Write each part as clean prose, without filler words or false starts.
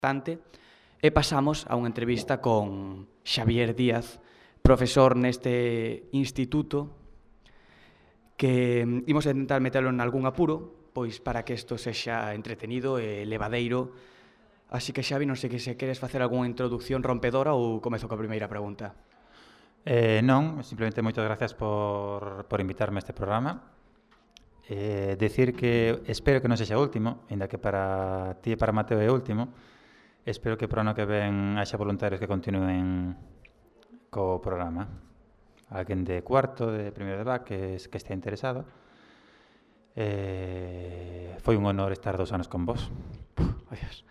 bastante, e pasamos a unha entrevista con Xavier Díaz, profesor neste instituto, que imos intentar metelo en algún apuro, pois para que isto sexa entretenido e levadeiro. Así que, Xavi, non sei que se queres facer algunha introducción rompedora ou comezo coa primeira pregunta. Non, simplemente moitas gracias por invitarme a este programa. Decir que espero que non sexa o último, ainda que para ti e para Mateo é o último. Espero que para o ano que ven haxa voluntarios que continúen co programa. Alguén de cuarto, de primeiro de BAC que estea interesado. Foi un honor estar 2 anos con vos. Adiós.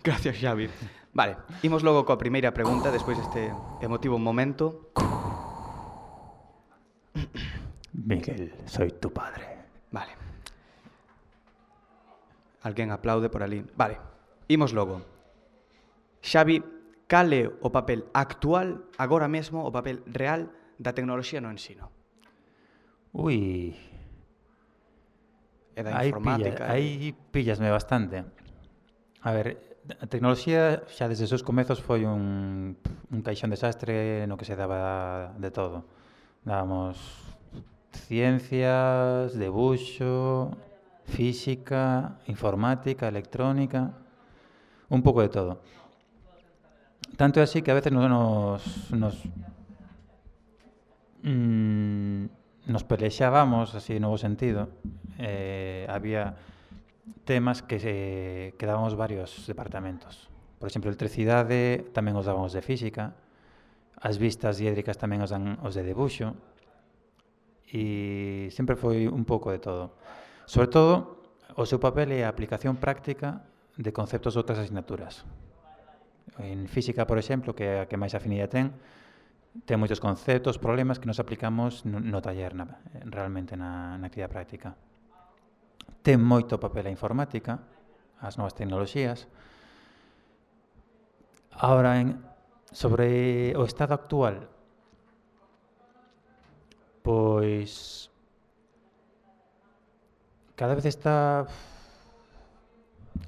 Gracias, Xavi. Vale, imos logo coa primeira pregunta, despois deste emotivo momento. Miguel, soy tu padre. Vale. Alguén aplaude por ali. Vale, imos logo. Xavi, cal é o papel actual, agora mesmo, o papel real da tecnoloxía no ensino? Ui, E da informática? aí pillasme bastante. A ver, a tecnoloxía xa desde os seus comezos foi un caixón desastre no que se daba de todo. Dábamos ciencias, debuxo, física, informática, electrónica, un pouco de todo. Tanto é así que a veces nos pelexábamos, así de novo sentido. Había temas que dábamos varios departamentos. Por exemplo, electricidade tamén os dábamos de física, as vistas diédricas tamén os dan os de debuxo, e sempre foi un pouco de todo. Sobre todo, o seu papel é a aplicación práctica de conceptos de outras asignaturas. En física, por exemplo, que é a que máis afinidade ten moitos conceptos, problemas que nos aplicamos no taller, realmente na actividade práctica. Ten moito papel a informática, as novas tecnoloxías. Ahora, sobre o estado actual, pois cada vez a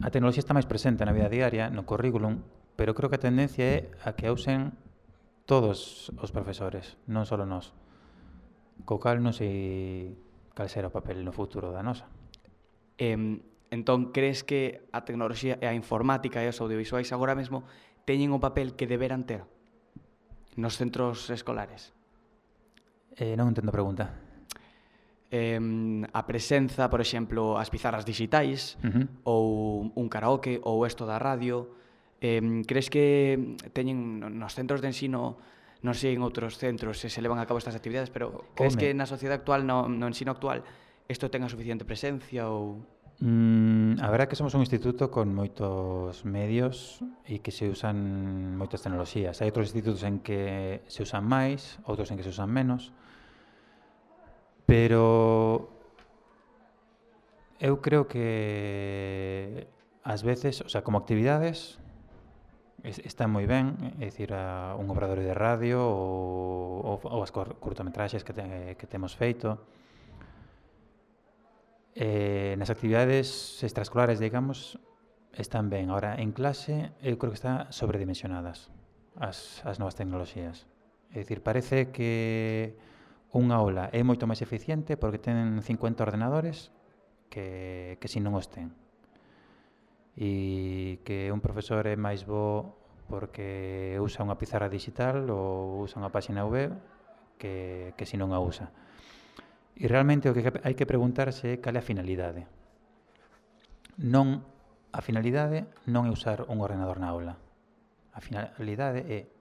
tecnoloxía está máis presente na vida diaria, no currículum, pero creo que a tendencia é a que a usen todos os profesores, non só nós. Co cal non sei cal será o papel no futuro da nosa. Entón, crees que a tecnoloxía e a informática e os audiovisuais agora mesmo teñen o papel que deberan ter nos centros escolares? Non entendo a pregunta. A presenza, por exemplo, as pizarras digitais, ou un karaoke, ou isto da radio, crees que teñen nos centros de ensino, non sei en outros centros se levan a cabo estas actividades, pero crees que na sociedade actual, no ensino actual, isto ten a suficiente presencia ou... A verdad é que somos un instituto con moitos medios e que se usan moitas tecnoloxías. Hai outros institutos en que se usan máis, outros en que se usan menos, pero eu creo que ás veces, o sea, como actividades están moi ben, é dicir, un obradoiro de radio ou as curtometraxes que temos feito. Nas actividades extraescolares, digamos, están ben. Ahora, en clase, eu creo que están sobredimensionadas as novas tecnoloxías. É dicir, parece que unha aula é moito máis eficiente porque ten 50 ordenadores que se non os ten. E que un profesor é máis bo porque usa unha pizarra digital ou usa unha páxina web que se non a usa. E realmente o que hai que preguntarse é cal é a finalidade. A finalidade non é usar un ordenador na aula. A finalidade é,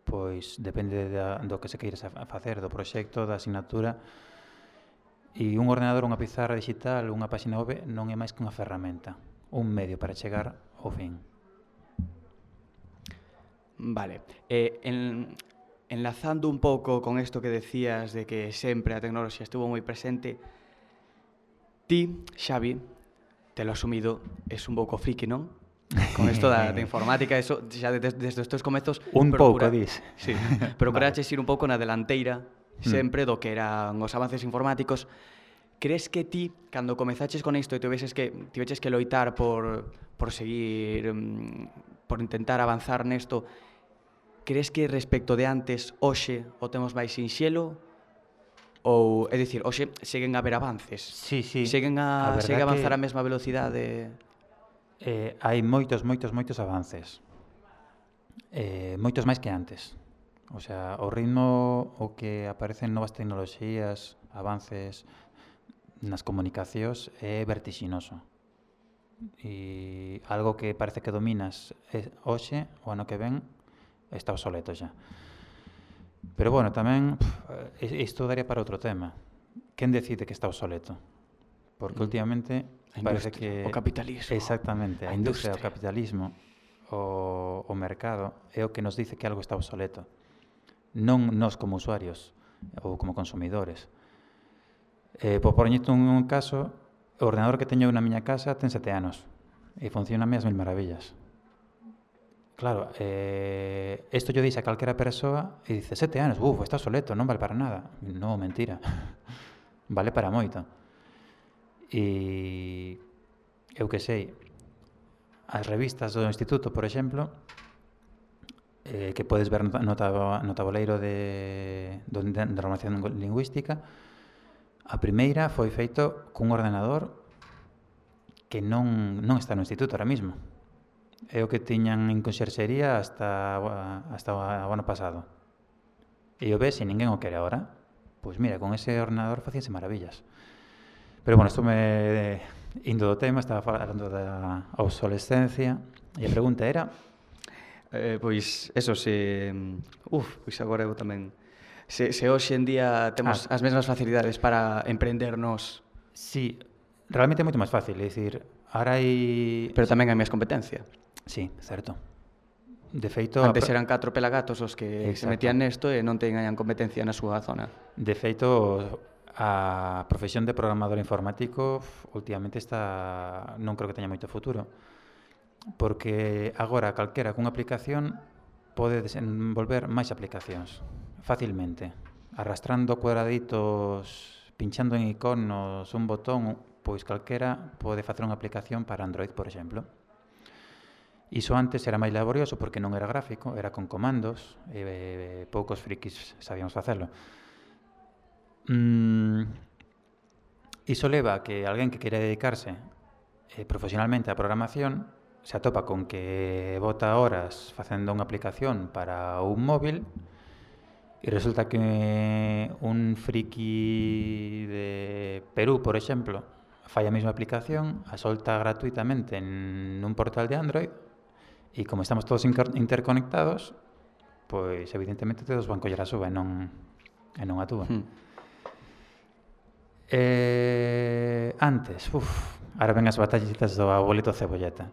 pois, depende do que se queires facer, do proxecto, da asignatura, e un ordenador, unha pizarra digital, unha páxina web non é máis que unha ferramenta, un medio para chegar ao fin. Vale. Enlazando un pouco con isto que decías de que sempre a tecnoloxía estuvo moi presente, ti, Xavi, te lo asumido, es un pouco friki, non? Con isto da informática, eso xa desde os teus comezos... Un pouco, dis. Sí, procuraches ir un pouco na delanteira sempre do que eran os avances informáticos. crees que ti, cando comezaches con isto e tiveches que loitar por seguir, por intentar avanzar nesto, crees que respecto de antes, hoxe, o temos máis sinxelo? Ou, é dicir, hoxe seguen a haber avances? Sí, Segue a avanzar a que mesma velocidade? hai moitos avances. Moitos máis que antes. O sea, o ritmo o que aparecen novas tecnoloxías, avances nas comunicacións é vertixinoso. E algo que parece que dominas hoxe, o ano que ven, está obsoleto xa. Pero bueno, tamén isto daría para outro tema. Quen decide que está obsoleto? Porque últimamente parece que o capitalismo. exactamente, a industria, o capitalismo, o mercado é o que nos dice que algo está obsoleto. Non nós como usuarios ou como consumidores. Por poñerte un caso, o ordenador que teño na miña casa ten 7 anos e funciona a mil maravillas. Claro, isto yo dixe a calquera persoa e dice 7 anos, está obsoleto, non vale para nada. Non, mentira. Vale para moito. E eu que sei, as revistas do instituto, por exemplo, que podes ver no tabuleiro de normación lingüística, a primeira foi feito cun ordenador que non está no instituto ahora mismo. É o que tiñan en conxerxería hasta o ano pasado. E o ves e ninguén o quere agora. Pois mira, con ese ordenador facíanse maravillas. Pero bueno, isto me indo do tema, estaba falando da obsolescencia, e a pregunta era... Pois, eso, pois agora eu tamén... Se hoxe en día temos as mesmas facilidades para emprendernos... Sí, realmente é moito máis fácil, é dicir, ahora hai... Pero tamén hai máis competencia. Sí, certo. De feito... Antes eran 4 pelagatos os que se metían nesto e non teñan competencia na súa zona. De feito, a profesión de programador informático últimamente non creo que teña moito futuro. Porque agora calquera cunha aplicación pode desenvolver máis aplicacións facilmente, arrastrando cuadraditos, pinchando en iconos, un botón, pois calquera pode facer unha aplicación para Android, por exemplo. Iso antes era máis laborioso porque non era gráfico, era con comandos, e poucos frikis sabíamos facelo. Iso leva a que alguén que quere dedicarse profesionalmente á programación se atopa con que bota horas facendo unha aplicación para un móvil e resulta que un friki de Perú, por exemplo, fai a mesma aplicación, a solta gratuitamente en un portal de Android e como estamos todos interconectados, pois evidentemente todos van coller a súa e non a túa. Antes, ahora ven as batallitas do abuelito cebolleta.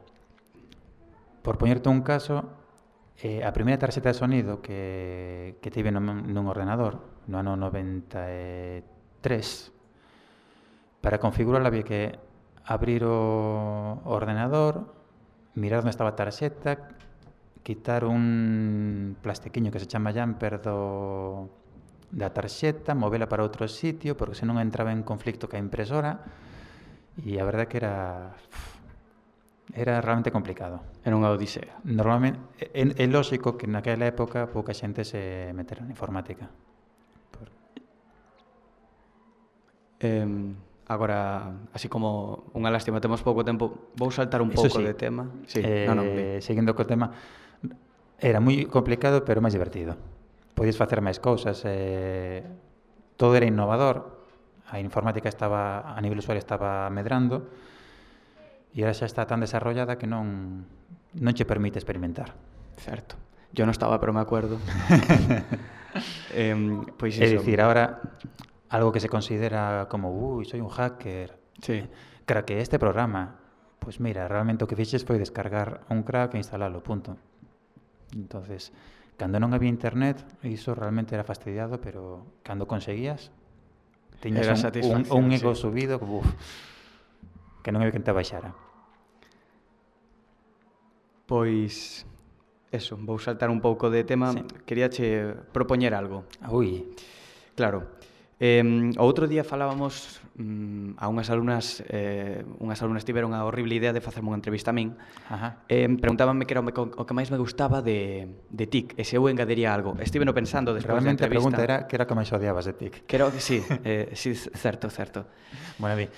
Por poñerte un caso, a primeira tarxeta de sonido que tive nun ordenador no ano 93, para configurarla había que abrir o ordenador, mirar onde estaba a tarxeta, quitar un plastiquiño que se chama jumper da tarxeta, movela para outro sitio, porque senón entraba en conflicto ca impresora, e a verdade que era realmente complicado. Era unha odisea. Normalmente, é lógico que naquela época pouca xente se metera na informática. Agora, así como unha lástima, temos pouco tempo, vou saltar un pouco de tema. Sí, seguindo co tema, era moi complicado, pero máis divertido. Podías facer máis cousas, todo era innovador, a informática a nivel usuario estaba medrando, e ahora xa está tan desarrollada que non che permite experimentar. Certo. Yo non estaba, pero me acuerdo. Pois é dicir, ahora algo que se considera como soy un hacker. Sí. Craqueé este programa. Pois mira, realmente o que fixes foi descargar un crack e instalalo, punto. Entonces, cando non había internet, iso realmente era fastidiado, pero cando conseguías, tiñas un ego subido, que non había quen te baixara. Pois, eso, vou saltar un pouco de tema. Sí. Queríache propoñer algo. Ui. Claro, O outro día falábamos a unhas alumnas tiveron a horrible idea de facerme unha entrevista a min. Preguntábanme que era o que máis me gustaba de TIC, e se eu engadiría algo. Estiveno pensando despois da entrevista. Realmente a pregunta era que era o que máis odiabas de TIC. Sí, certo. Bueno, di.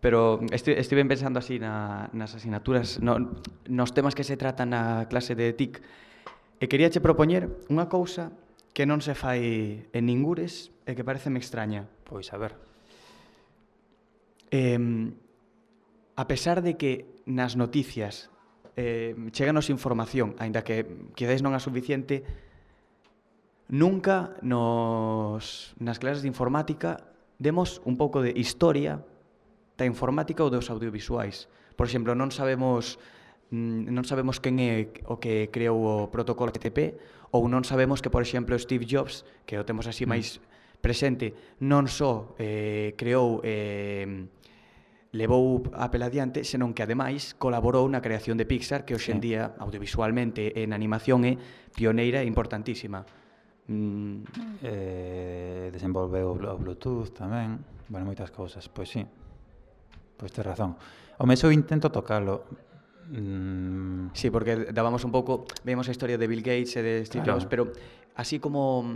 Pero estive pensando así nas asignaturas, nos temas que se tratan na clase de TIC, e queríache propoñer unha cousa que non se fai en ningures e que pareceme extraña. Pois a ver. A pesar de que nas noticias cheganos información, aínda que quizás non a suficiente, nunca nas clases de informática demos un pouco de historia da informática ou dos audiovisuais. Por exemplo, non sabemos quen é o que creou o protocolo HTTP, ou non sabemos que, por exemplo, Steve Jobs, que o temos así máis presente, non só creou levou Apple adiante, senón que ademais colaborou na creación de Pixar, que hoxe en día, audiovisualmente e na animación, é pioneira e importantísima. Desenvolveu o Bluetooth tamén, bueno, moitas cousas, pois sí. Pois tes razón. Home, eu intento tocalo. Sí, porque dábamos un pouco, vemos a historia de Bill Gates e de Steve Jobs, pero así como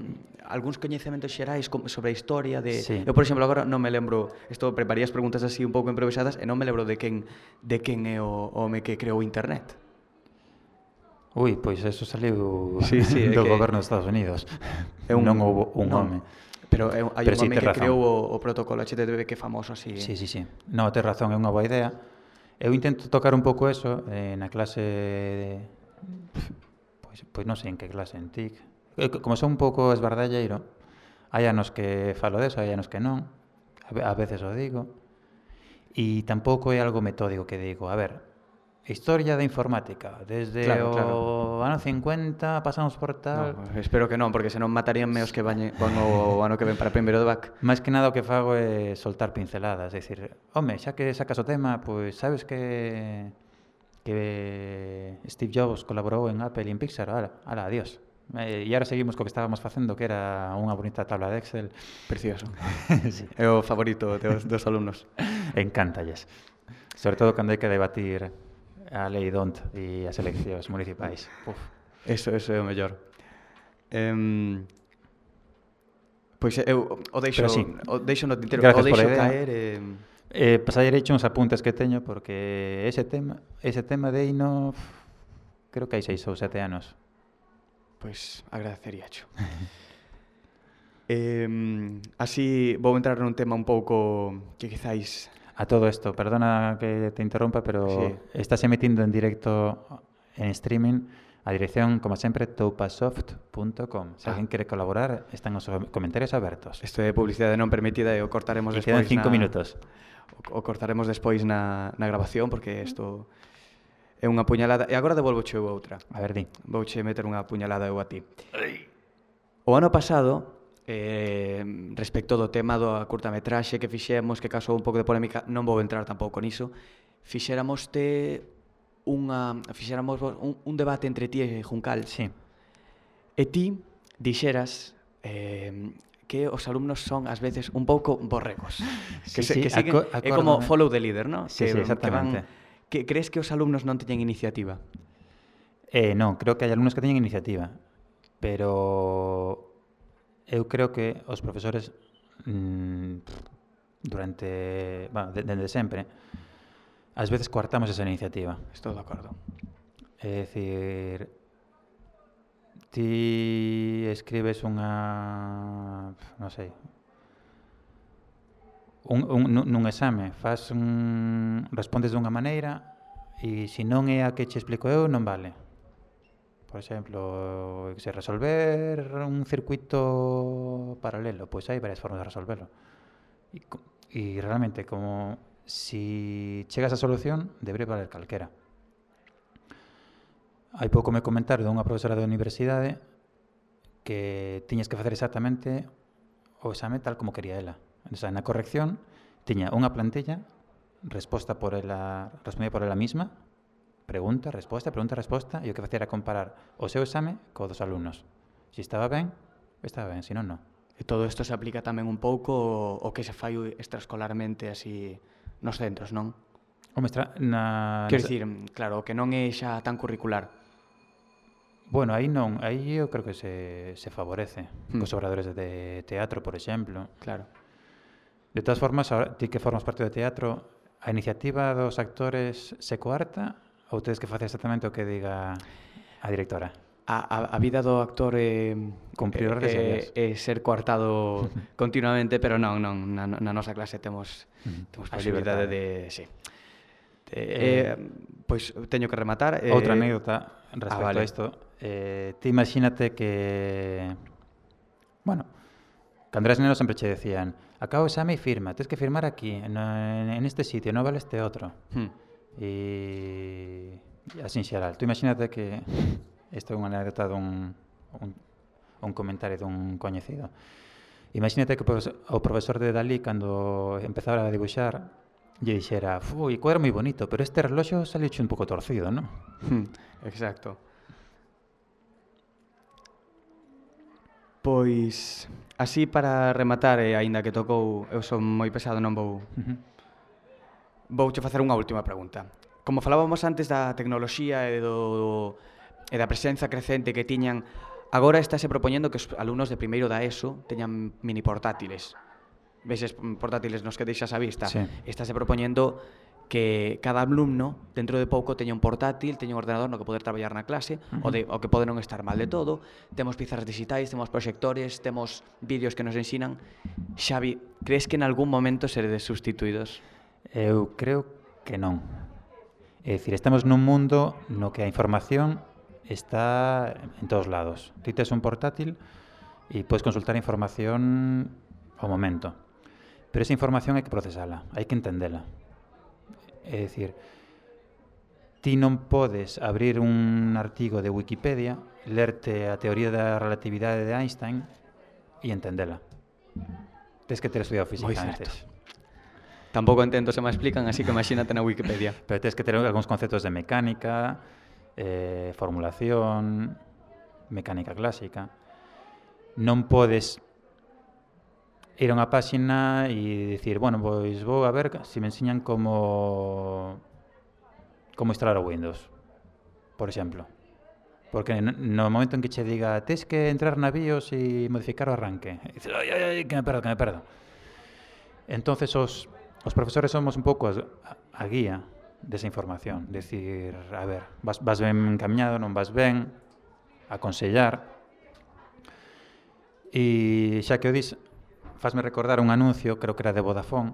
algúns coñecementos xerais sobre a historia de... Sí. Eu, por exemplo, agora non me lembro, preparei as preguntas así un pouco improvisadas e non me lembro de quen é o home que creou Internet. Ui, pois eso saliu do goberno dos Estados Unidos. Non houve un home. Pero hai un home que creou o protocolo HTTP que é famoso así. Sí. Non, tes razón, é unha boa idea. Eu intento tocar un pouco eso na clase pois non sei en que clase, en TIC. Como son un pouco esbardalleiro, hai anos que falo deso, hai anos que non, a veces o digo, e tampouco é algo metódico que digo, a ver, historia da informática, desde o ano 50 pasamos por tal... No, espero que non, porque senón mataríanme os que van o ano que ven para primeiro de BAC. Máis que nada o que fago é soltar pinceladas, é dicir, home, xa que sacas o tema, pois sabes que Steve Jobs colaborou en Apple e en Pixar, ala, adiós. E agora seguimos co que estábamos facendo, que era unha bonita tabla de Excel. Precioso. Sí. É o favorito dos alumnos. Encántalles. Sobre todo cando hai que debatir a lei DONT e as eleccións municipais. Eso é o mellor. Pois eu o deixo no tintero, o deixo caer pasarei uns apuntes que teño porque ese tema de hino creo que hai 6 ou 7 anos. Pois agradeceríacho. Así vou entrar nun tema un pouco que quizáis... A todo isto, perdona que te interrompa, pero sí. Estás emitindo en directo en streaming a dirección, como sempre, toupasoft.com. Se alguén quere colaborar, están os comentarios abertos. Isto é publicidade non permitida e o cortaremos despois. Quedan 5 minutos. O cortaremos despois na grabación, porque isto é unha puñalada. E agora devolvoche outra. A ver, di. Vouche meter unha puñalada eu a ti. O ano pasado... respecto do tema da curtametraxe que fixemos, que causou un pouco de polémica, non vou entrar tampouco niso, fixéramos un debate entre ti e Juncal. Sí. E ti dixeras que os alumnos son ás veces un pouco borregos. Que siguen, é como follow the leader, ¿no? Sí, exactamente. Que crees que os alumnos non teñen iniciativa? Non, creo que hai alumnos que teñen iniciativa, pero eu creo que os profesores dende sempre ás veces coartamos esa iniciativa. Estou de acordo. É dicir, ti escribes unha, non sei, nun exame, respondes dunha maneira e se non é a que che explico eu, non vale. Por exemplo, se resolver un circuito paralelo, pois hai varias formas de resolverlo. E realmente, como si chegas á solución, debería valer calquera. Hai pouco me comentaron dunha profesora da universidade que tiñas que facer exactamente o exame tal como quería ela. O sea, na corrección tiña unha plantilla respondida por ela mesma, pregunta, resposta, e o que facía era comparar o seu exame co dos alumnos. Se estaba ben, se non, non. E todo isto se aplica tamén un pouco o que se fai extraescolarmente así nos centros, non? Quero dicir, claro, o que non é xa tan curricular. Bueno, aí non, aí eu creo que se favorece cos obradoires de teatro, por exemplo. Claro. De todas formas, ti que formas parte do teatro, a iniciativa dos actores se coarta ou tedes que facer exactamente o que diga a directora? A vida do actor é cumprir as redes é ser coartado continuamente, pero non, na nosa clase temos posibilidade de, sí. Pois teño que rematar. Outra anécdota respecto vale. a isto. Ti imagínate que, bueno, cando eras neno sempre che decían acabo o exame e firma, tens que firmar aquí, en este sitio, non vale este outro. E así en xeral. Tú imagínate que isto é unha anécdota un comentario dun coñecido. Imagínate que o profesor de Dalí, cando empezara a dibuixar, lle dixera, o cuadro moi bonito, pero este reloxo saliu un pouco torcido, non? Exacto. Pois, así para rematar, e aínda que tocou, eu son moi pesado, non vou... Vouche facer unha última pregunta. Como falábamos antes da tecnoloxía e da presenza crecente que tiñan, agora estáse propoñendo que os alumnos de primeiro da ESO teñan mini portátiles. Veses portátiles nos que deixas a vista. Sí. Estáse propoñendo que cada alumno, dentro de pouco, teña un portátil, teña un ordenador no que poder traballar na clase, o que pode non estar mal de todo. Temos pizarras digitais, temos proxectores, temos vídeos que nos ensinan. Xavi, crees que en algún momento seredes sustituídos? Eu creo que non. É dicir, estamos nun mundo no que a información está en todos lados. Ti tes un portátil e podes consultar información ao momento. Pero esa información hai que procesala, hai que entendela. É dicir, ti non podes abrir un artigo de Wikipedia, lerte a teoría da relatividade de Einstein e entendela. Tens que ter estudiado física antes. Tampouco entendo se me explican, así que imagínate na Wikipedia. Pero tens que ter algúns conceptos de mecánica, formulación, mecánica clásica. Non podes ir a unha páxina e dicir, bueno, pois vou a ver se me enseñan como instalar o Windows, por exemplo. Porque no momento en que che diga tes que entrar na BIOS e modificar o arranque, e dices, ai, que me perdo. Entonces os profesores somos un pouco a guía desa información. Decir, a ver, vas ben encaminado, non vas ben, aconsellar. E xa que o dis, fasme recordar un anuncio, creo que era de Vodafone,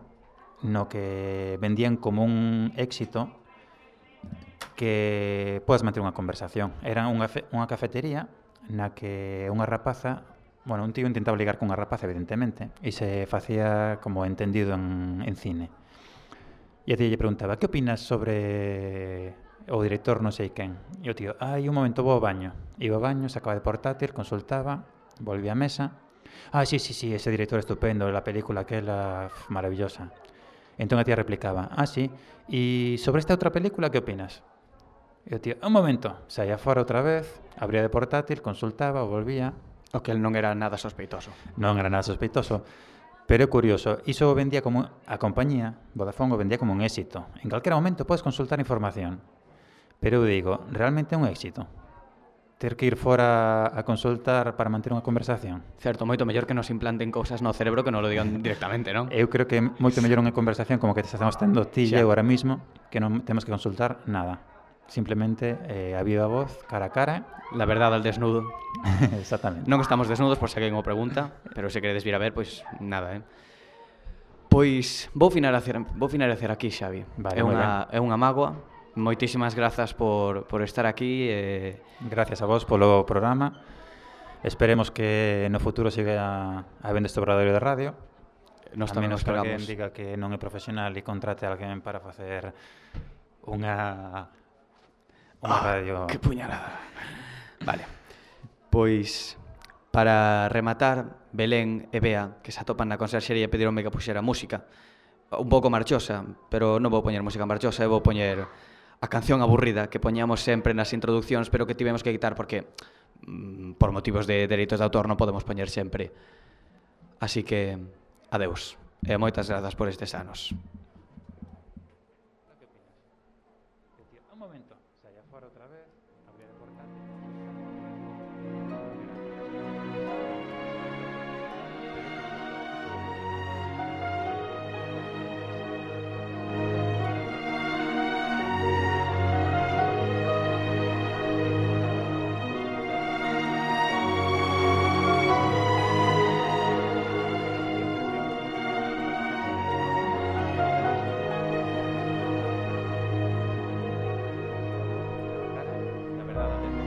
no que vendían como un éxito que podes manter unha conversación. Era unha cafetería na que unha rapaza, bueno, un tío intentaba ligar con unha rapaza, evidentemente, e se facía como entendido en cine. E a tío lle preguntaba, que opinas sobre o director non sei quen? E o tío, un momento, vou ao baño. Iba ao baño, sacaba de portátil, consultaba, volvía á mesa. Sí, ese director estupendo, la película aquela maravillosa. Entón a tía replicaba, sí, e sobre esta outra película que opinas? E o tío, un momento, saía fora outra vez, abría de portátil, consultaba, volvía. O que non era nada sospeitoso. Non era nada sospeitoso, pero é curioso, iso o vendía como, a compañía, Vodafone o vendía como un éxito. En calquera momento podes consultar información. Pero eu digo, realmente é un éxito ter que ir fora a consultar para manter unha conversación. Certo, moito mellor que nos implanten cousas no cerebro que non lo digan directamente, non? Eu creo que é moito mellor unha conversación como que te estamos tendo ti e eu ahora mismo, que non temos que consultar nada. Simplemente a viva voz, cara a cara. La verdade al desnudo. Exactamente. Non estamos desnudos, por se alguén o pregunta, pero se queredes vir a ver, pois nada, Pois vou finalizar aquí, Xavi. Vale, é unha mágoa. Moitísimas grazas por estar aquí. Gracias a vos polo programa. Esperemos que no futuro siga habendo este obradoiro de radio. Nos tamén nos esperamos. A esperamos. menos que alguén diga que non é profesional e contrate a alguén para facer unha radio... Que puñalada. Vale. Pois, para rematar, Belén e Bea, que se atopan na conserxería, pedironme que puxera música. Un pouco marchosa, pero non vou poñer música marchosa, eu vou poñer a canción aburrida que poñamos sempre nas introduccións, pero que tivemos que quitar porque por motivos de dereitos de autor non podemos poñer sempre Así que, adeus, e moitas grazas por estes anos. Un momento, saia fora outra vez, abrir o portátil. La verdad,